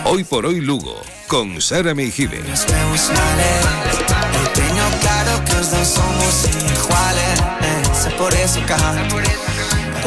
Hoy por hoy Lugo, con Sara Meijibe. Tengo claro que os dos somos iguales, sé por eso que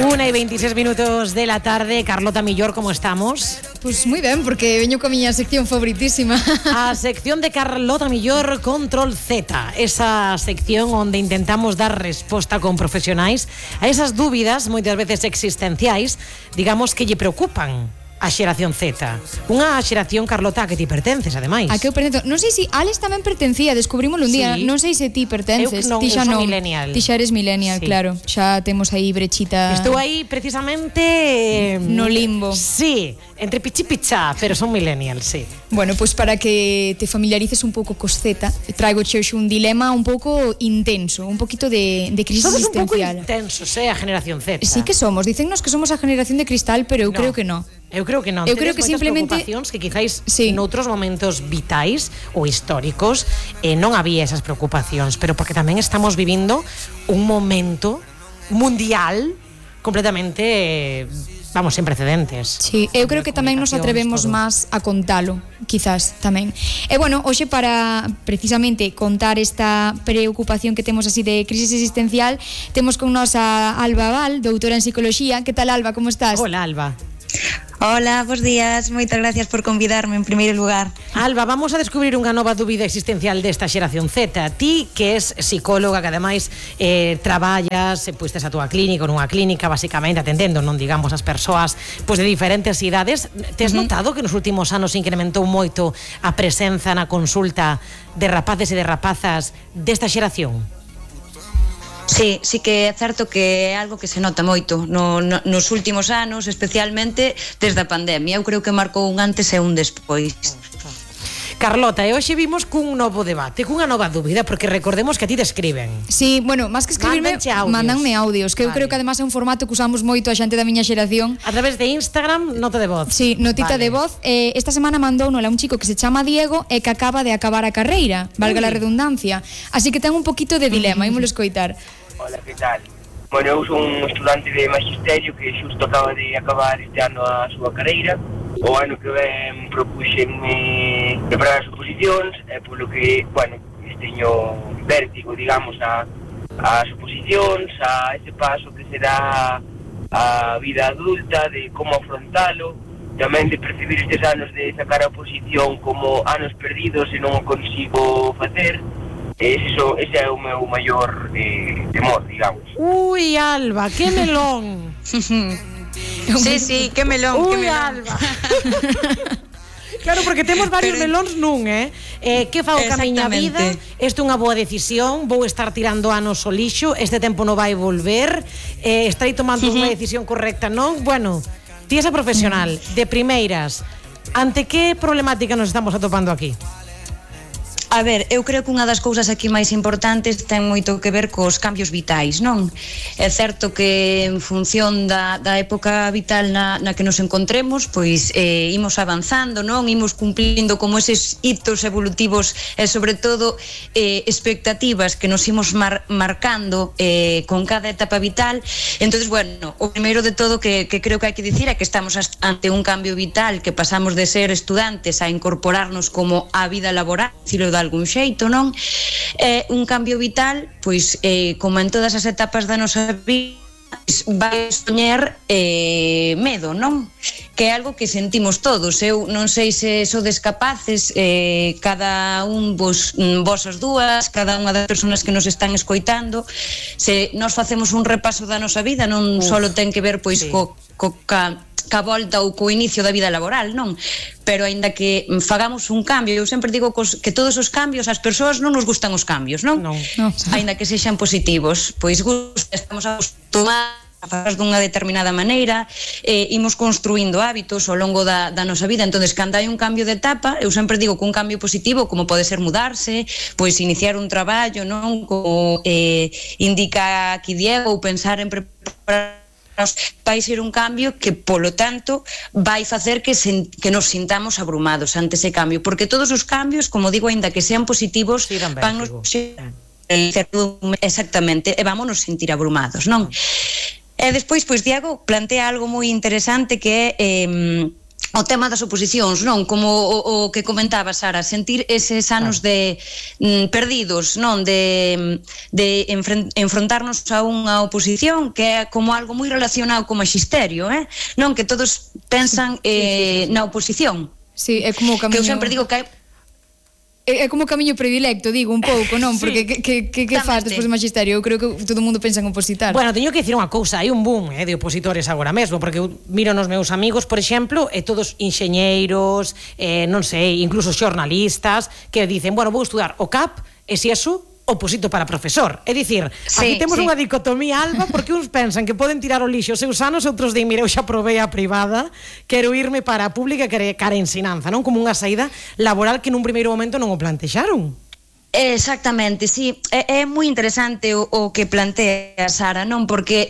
1:26 de la tarde. Carlota Millor, como estamos? Pois moi ben, porque veño coa miña sección favoritísima. A sección de Carlota Millor, Control Z. Esa sección onde intentamos dar resposta con profesionais a esas dúbidas, moitas veces existenciais, digamos que lle preocupan a xeración Z. Unha xeración, Carlota, a que ti pertences, ademais. A que eu pertenzo. Non sei se Alex tamén pertencía, descubrímolo un día. Sí. Non sei se ti pertences. Eu non, ti xa eu son non. millennial. Ti xa eres millennial, Sí. claro. Xa temos aí brechita. Estou aí precisamente no limbo. Sí, entre pichi pichá, pero son millennial, sí. Bueno, pois para que te familiarices un pouco cos Z, traigo che hoxe un dilema un pouco intenso, un poquito de crisis Somos un pouco existencial. intensos, a generación Z. Sí que somos, dicennos que somos a generación de cristal, pero eu No. creo que non. Eu creo que non. Eu creo Tedes que moitas simplemente preocupacións que quizáis Sí. noutros momentos vitais ou históricos non había esas preocupacións, pero porque tamén estamos vivindo un momento mundial completamente, vamos, sen precedentes. Sí, eu creo que tamén nos atrevemos máis a contalo, quizás tamén. E bueno, hoxe para precisamente contar esta preocupación que temos así de crisis existencial, temos con nós a Alba Val, doutora en psicoloxía. Que tal, Alba, como estás? Hola, Alba. Hola, bos días, moitas gracias por convidarme en primeiro lugar. Alba, vamos a descubrir unha nova dúbida existencial desta xeración Z. Ti, que és psicóloga, que ademais traballas, pois tes a túa clínica, nunha clínica, basicamente atendendo, non digamos, as persoas pois de diferentes idades, tes notado que nos últimos anos se incrementou moito a presenza na consulta de rapaces e de rapazas desta xeración? Sí, sí que é certo que é algo que se nota moito nos últimos anos, especialmente desde a pandemia. Eu creo que marcou un antes e un despois. Carlota, e hoxe vimos cun novo debate, cunha nova dúbida, porque recordemos que a ti te escriben. Sí, bueno, máis que escribirme, mandanme audios, que eu creo que además é un formato que usamos moito a xente da miña xeración. A través de Instagram, nota de voz. Sí, notita de voz. Esta semana mandounola un chico que se chama Diego e que acaba de acabar a carreira, valga la redundancia. Así que ten un poquito de dilema, ímolo escoitar. Hola, que tal? Bueno, eu son un estudante de magisterio que xusto acaba de acabar este ano a súa carreira. O ano que ven propuxenme preparar as oposicións, polo que, bueno, teño vértigo, digamos, as oposicións, a ese paso que será a vida adulta, de como afrontalo, tamén de percibir estes anos de sacar a oposición como anos perdidos e non o consigo facer. Ese é o meu maior temor, digamos. Ui, Alba, que melón. Sí, que melón, Ui, que melón. Alba. Claro, porque temos varios melóns nun, que fago ca miña vida? Isto é unha boa decisión, vou estar tirando anos ao lixo, este tempo non vai volver, estarei tomando unha decisión correcta, non? Bueno, ti esa profesional, de primeiras, ante que problemática nos estamos atopando aquí? A ver, eu creo que unha das cousas aquí máis importantes ten moito que ver cos cambios vitais, non? É certo que en función da época vital na que nos encontremos, pois imos avanzando, non? Imos cumplindo como eses hitos evolutivos e sobre todo expectativas que nos imos marcando con cada etapa vital. Entonces, bueno, o primeiro de todo que creo que hai que dicir é que estamos ante un cambio vital, que pasamos de ser estudantes a incorporarnos como a vida laboral, dicilo de algún xeito, non? É un cambio vital, pois, como en todas as etapas da nosa vida, vai soñar medo, non? Que é algo que sentimos todos. Eu non sei se sodes capaces, cada un vos as dúas, cada unha das persoas que nos están escoitando, se nós facemos un repaso da nosa vida, non só ten que ver pois ca volta ou co inicio da vida laboral, non? Pero aínda que fagamos un cambio, eu sempre digo que todos os cambios, as persoas non nos gustan os cambios, non? Aínda que sexan positivos, pois estamos acostumados a fazer dunha determinada maneira, imos construindo hábitos ao longo da nosa vida. Entonces, cando hai un cambio de etapa, eu sempre digo que un cambio positivo, como pode ser mudarse, pois iniciar un traballo, non? Como indica aquí Diego, ou pensar en preparar, vai ser un cambio que, polo tanto, vai facer que nos sintamos abrumados ante ese cambio, porque todos os cambios, como digo, aínda que sean positivos, vannos exactamente, e vámonos sentir abrumados, non? E despois, pois, Diego plantea algo moi interesante que é o tema das oposicións, non? Como o que comentaba Sara, sentir eses anos de perdidos, non? De enfrontarnos a unha oposición que é como algo moi relacionado co maxisterio, non? Que todos pensan na oposición. Sí, é como o camiño... Que eu sempre digo que hai... É como o camiño predilecto, digo, un pouco, non? Porque que faz despois do magisterio? Eu creo que todo o mundo pensa en opositar. Bueno, teño que dicir unha cousa, hai un boom de opositores agora mesmo, porque eu miro nos meus amigos, por exemplo, e todos enxeñeiros, non sei, incluso xornalistas, que dicen, bueno, vou estudar o CAP, e se eso... oposito para profesor. É dicir, aquí temos unha dicotomía, Alba, porque uns pensan que poden tirar o lixo os seus anos, outros din, mira, eu xa probei a privada, quero irme para a pública, cara a ensinanza, non? Como unha saída laboral que nun primeiro momento non o plantexaron. Exactamente, sí, é moi interesante o que plantea Sara, non? Porque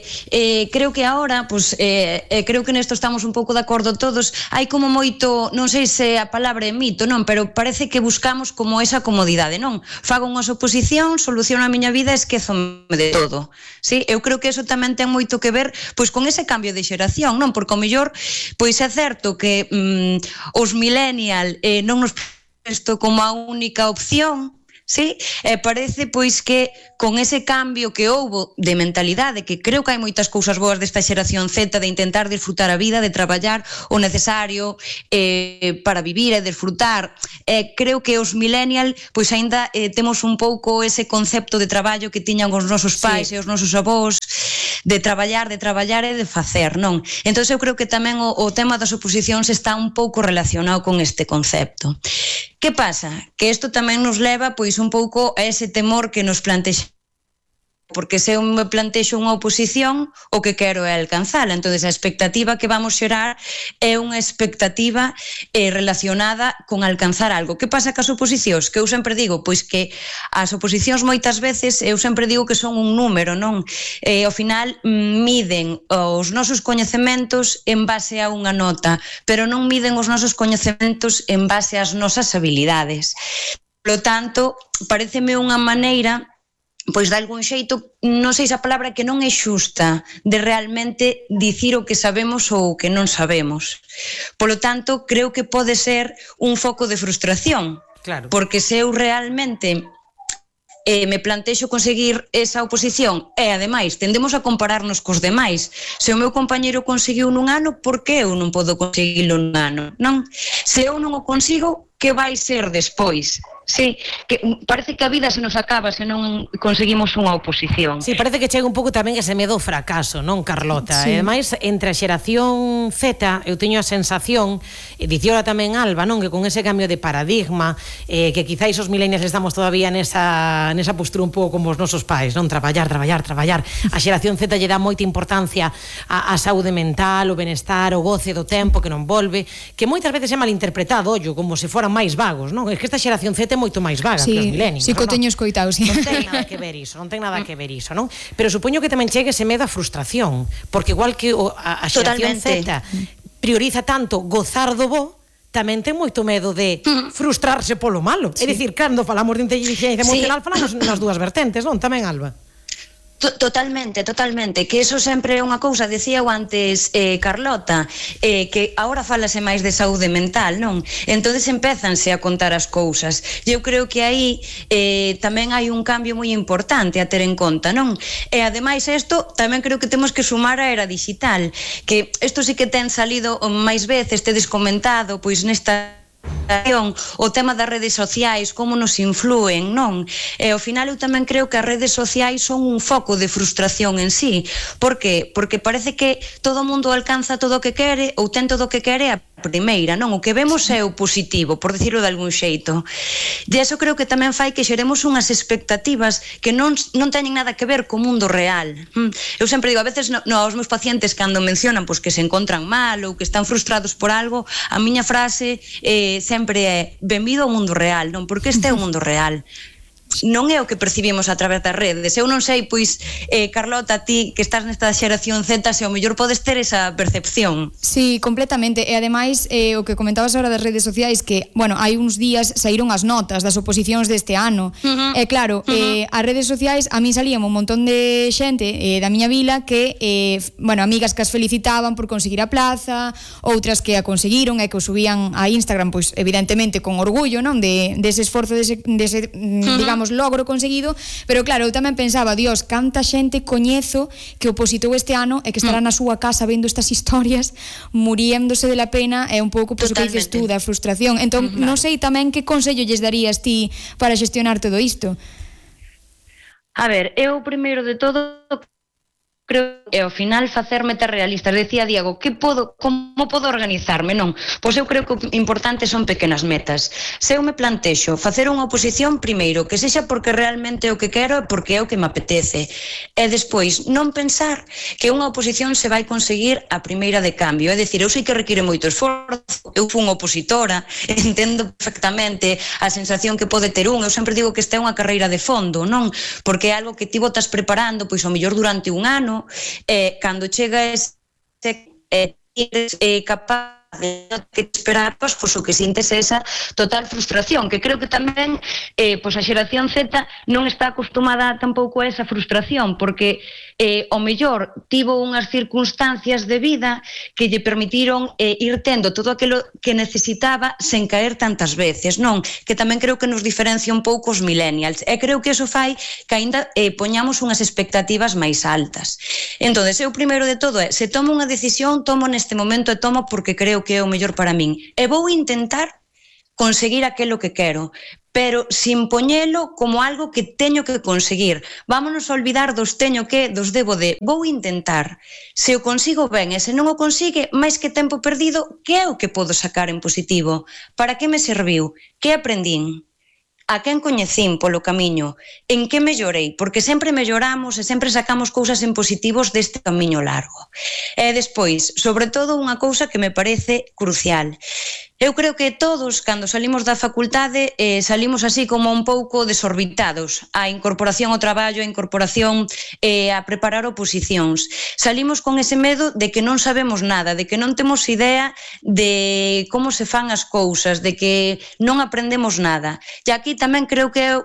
creo que agora, pues, creo que nesto estamos un pouco de acordo todos, hai como moito, non sei se a palabra é mito, non? Pero parece que buscamos como esa comodidade, non? Fago unha oposición, soluciono a miña vida e esquézome de todo, sí? Eu creo que eso tamén ten moito que ver, pois, con ese cambio de xeración, non? Porque ao mellor, pois é certo que os millennial non nos isto como a única opción, sí, parece pois que con ese cambio que houbo de mentalidade, que creo que hai moitas cousas boas desta xeración Z, de intentar disfrutar a vida, de traballar o necesario para vivir e disfrutar, creo que os millennial pois aínda temos un pouco ese concepto de traballo que tiñan os nosos pais e os nosos avós, de traballar e de facer, non? Entón eu creo que tamén o tema das oposicións está un pouco relacionado con este concepto. Que pasa? Que isto tamén nos leva pois un pouco a ese temor que nos plantexa, porque se eu me plantexo unha oposición, o que quero é alcanzala. Entón, a expectativa que vamos xerar é unha expectativa relacionada con alcanzar algo. Que pasa cas oposicións? Que eu sempre digo, pois que as oposicións moitas veces, eu sempre digo que son un número, non? Ao final, miden os nosos coñecementos en base a unha nota, pero non miden os nosos coñecementos en base ás nosas habilidades. Por lo tanto, pareceme unha maneira, pois de algún xeito, non sei se a palabra que non é xusta, de realmente dicir o que sabemos ou o que non sabemos. Por lo tanto, creo que pode ser un foco de frustración, claro. Porque se eu realmente me plantexo conseguir esa oposición e, ademais, tendemos a compararnos cos demais. Se o meu compañeiro conseguiu nun ano, por que eu non podo conseguilo nun ano? Non? Se eu non o consigo, que vai ser despois? Sí, que parece que a vida se nos acaba se non conseguimos unha oposición. Sí, parece que chega un pouco tamén ese medo ao fracaso, non, Carlota? Sí. E ademais, entre a xeración Z, eu teño a sensación, e diciola tamén Alba, non, que con ese cambio de paradigma, que quizáis os millennials estamos todavía nesa postura un pouco como os nosos pais, non? Traballar. A xeración Z lle dá moita importancia á saúde mental, o benestar, o goce do tempo que non volve, que moitas veces é malinterpretado, ollo, como se foran máis vagos, non? É que esta xeración Z é moito máis vaga que os millennials. Sí, que o teño escoitado, sí. Non ten nada que ver iso, non? Pero supoño que tamén chegue ese medo a frustración, porque igual que a xeración Z prioriza tanto gozar do bo, tamén ten moito medo de frustrarse polo malo. É dicir, cando falamos de inteligencia emocional, falamos nas dúas vertentes, non? Tamén, Alba. Totalmente, que eso sempre é unha cousa, decía eu antes Carlota, que agora falase máis de saúde mental, non? Entonces empézanse a contar as cousas. Eu creo que aí tamén hai un cambio moi importante a ter en conta, non? E ademais isto tamén creo que temos que sumar a era digital, que isto sí que ten salido máis veces, tedes comentado, pois nesta o tema das redes sociais, como nos influen, non? E ao final eu tamén creo que as redes sociais son un foco de frustración en sí. Por qué? Porque parece que todo o mundo alcanza todo o que quere ou ten todo o que quere a primeira, non? O que vemos é o positivo, por decirlo de algún xeito. E iso creo que tamén fai que xeremos unhas expectativas que non teñen nada que ver co mundo real. Eu sempre digo, a veces aos meus pacientes cando mencionan pois, que se encontran mal ou que están frustrados por algo, a miña frase sempre é benvido ao mundo real, non? Porque este é o mundo real. non é o que percibimos a través das redes. Eu non sei, pois, Carlota, ti que estás nesta xeración Z, se ao mellor podes ter esa percepción. Sí, completamente. E ademais, o que comentabas agora das redes sociais, que, bueno, hai uns días saíron as notas das oposicións deste ano. E claro, as redes sociais, a mí salían un montón de xente da miña vila que, bueno, amigas que as felicitaban por conseguir a plaza, outras que a conseguiron e que o subían a Instagram, pois, evidentemente, con orgullo, non? Dese esforzo, dese digamos, logro conseguido, pero claro, eu tamén pensaba, Dios, canta xente coñezo que opositou este ano e que estará na súa casa vendo estas historias, muriéndose de la pena, é un pouco pois o que dices tú, da frustración. Entón, non sei tamén que consello lles darías ti para xestionar todo isto. A ver, eu primeiro de todo creo que ao final facerme ter realista. Decía Diego, como podo organizarme? Non, pois eu creo que o importante son pequenas metas. Se eu me plantexo facer unha oposición, primeiro, que sexa porque realmente é o que quero e porque é o que me apetece. E despois, non pensar que unha oposición se vai conseguir a primeira de cambio. É dicir, eu sei que require moito esforzo, eu fui unha opositora, entendo perfectamente a sensación que pode ter eu sempre digo que esta é unha carreira de fondo, non? Porque é algo que ti botas preparando, pois ao mellor durante un ano, cando chega ese capaz de que te esperar, pois o que sintes esa total frustración, que creo que tamén pois a xeración Z non está acostumada tampouco a esa frustración, porque o mellor tivo unhas circunstancias de vida que lle permitiron ir tendo todo aquilo que necesitaba sen caer tantas veces, non? Que tamén creo que nos diferencia un pouco os millennials, e creo que eso fai que aínda poñamos unhas expectativas máis altas. Entón, eu primeiro de todo se tomo unha decisión, tomo neste momento e tomo porque creo que é o mellor para min, e vou intentar conseguir aquilo que quero, pero sin poñelo como algo que teño que conseguir. Vámonos a olvidar dos teño que, dos debo de. Vou intentar. Se o consigo ben, e se non o consigue, máis que tempo perdido, que é o que podo sacar en positivo? Para que me serviu? Que aprendín? A quen coñecín polo camiño? En que mellorei? Porque sempre melloramos e sempre sacamos cousas en positivos deste camiño largo. E despois, sobre todo, unha cousa que me parece crucial. Eu creo que todos, cando salimos da facultade, salimos así como un pouco desorbitados. A incorporación ao traballo, a incorporación a preparar oposicións. Salimos con ese medo de que non sabemos nada, de que non temos idea de como se fan as cousas, de que non aprendemos nada. E aquí tamén creo que é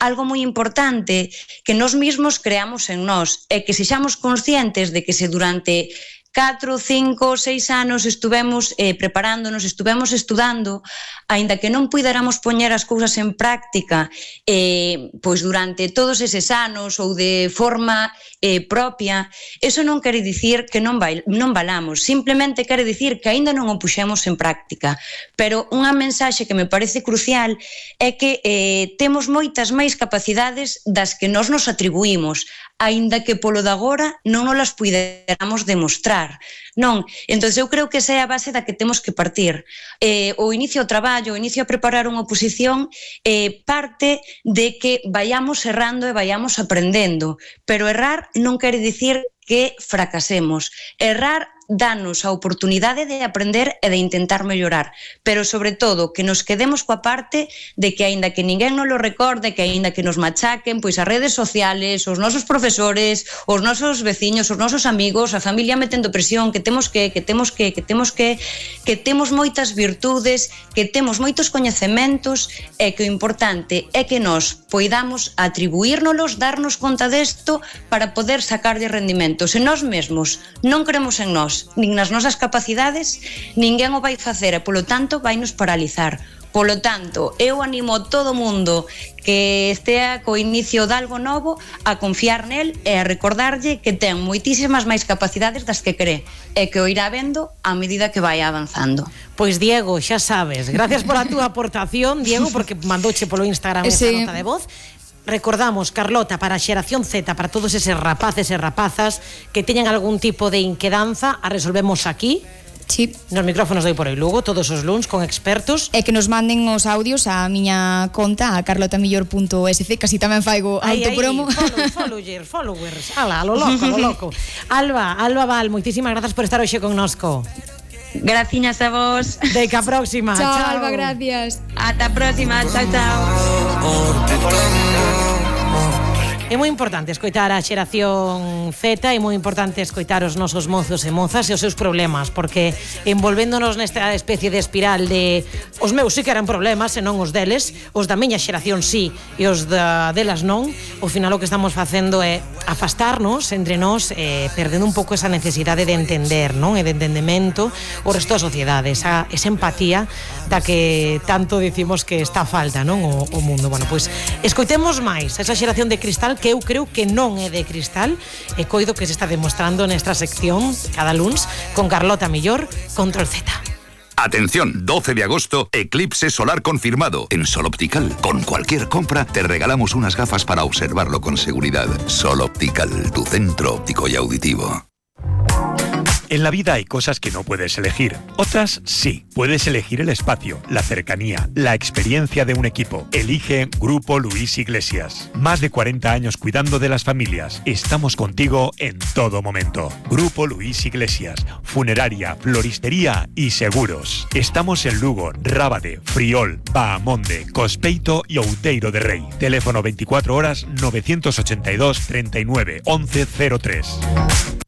algo moi importante que nós mesmos creamos en nós e que sexamos conscientes de que se durante 4, 5, 6 anos estuvemos preparándonos, estuvemos estudando, aínda que non puidéramos poñer as cousas en práctica pois durante todos eses anos ou de forma propia, eso non quere dicir que non valamos, simplemente quere dicir que aínda non o puxemos en práctica. Pero unha mensaxe que me parece crucial é que temos moitas máis capacidades das que nós nos atribuímos, aínda que polo de agora non nos las puideramos demostrar, non? Entón, eu creo que esa é a base da que temos que partir. O inicio ao traballo, o inicio a preparar unha oposición, parte de que vayamos errando e vayamos aprendendo, pero errar non quere dicir que fracasemos. Errar danos a oportunidade de aprender e de intentar mellorar, pero sobre todo que nos quedemos coa parte de que aínda que ninguén nos lo recorde, que aínda que nos machaquen, pois as redes sociales, os nosos profesores, os nosos veciños, os nosos amigos, a familia metendo presión, que temos moitas virtudes, que temos moitos coñecementos, e que o importante é que nós poidamos atribuírnolos, darnos conta desto para poder sacar de rendimento. Se nós mesmos non creemos en nós, nin nas nosas capacidades, ninguén o vai facer e, polo tanto, vai nos paralizar. Polo tanto, eu animo a todo mundo que estea co inicio de algo novo a confiar nel e a recordarlle que ten moitísimas máis capacidades das que cree e que o irá vendo a medida que vai avanzando. Pois Diego, xa sabes, gracias por a túa aportación, Diego, porque mandouche polo Instagram esa nota de voz. Recordamos, Carlota, para a xeración Z, para todos eses rapaces e rapazas que teñan algún tipo de inquedanza, a resolvemos aquí. Sí. Nos micrófonos de por aí Lugo, todos os luns con expertos. E que nos manden os audios á miña conta, a carlotamillor.sc, casi tamén faigo autopromo. Followers. Ala, lo loco. Alba Val, moitísimas grazas por estar hoxe connosco. Graciñas a vos. Deca próxima. Chao, Alba, gracias. Ata a próxima, chao. por tu amor. É moi importante escoitar a xeración Z, é moi importante escoitar os nosos mozos e mozas e os seus problemas, porque envolvéndonos nesta especie de espiral de os meus sí que eran problemas e non os deles, os da miña xeración sí e os delas non, ao final o que estamos facendo é afastarnos entre nós e perdendo un pouco esa necesidade de entender, non? E de entendemento o resto da sociedade, esa empatía da que tanto dicimos que está a falta, non? O mundo. Bueno, pois escoitemos máis esa xeración de cristal que eu creo que non é de cristal e coido que se está demostrando nesta sección cada luns con Carlota Millor, Control Z. Atención, 12 de agosto, eclipse solar confirmado en Sol Optical. Con cualquier compra te regalamos unas gafas para observarlo con seguridad. Sol Optical, tu centro óptico y auditivo. En la vida hay cosas que no puedes elegir, otras sí. Puedes elegir el espacio, la cercanía, la experiencia de un equipo. Elige Grupo Luis Iglesias. Más de 40 años cuidando de las familias. Estamos contigo en todo momento. Grupo Luis Iglesias. Funeraria, floristería y seguros. Estamos en Lugo, Rábade, Friol, Bahamonde, Cospeito y Outeiro de Rei. Teléfono 24 horas 982 39 11 03.